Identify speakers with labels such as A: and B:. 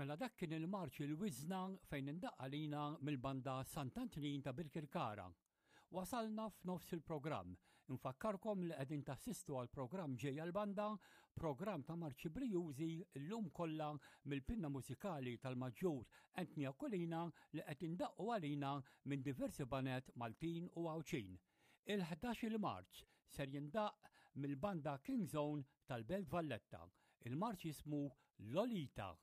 A: Mela dak kien il-marċ il-Wiżna fejn indaqq għalina mill-banda Sant'Antnin ta' Birkirkara. Wasalna f'nofs il-programm. Infakkarkom li qegħdin tassistu għal programm ġejja l-banda, programm ta' marċi brijużi llum kollha mill-pinna mużikali tal-Maġġur Anthony Aquilina li qed indaqqu għalina minn diversi baned Maltin u Għawdxin. Il-11 il-marċ ser jindaqq mill-banda King Zone tal-Belt Valletta. Il-marċ jismu Lolita.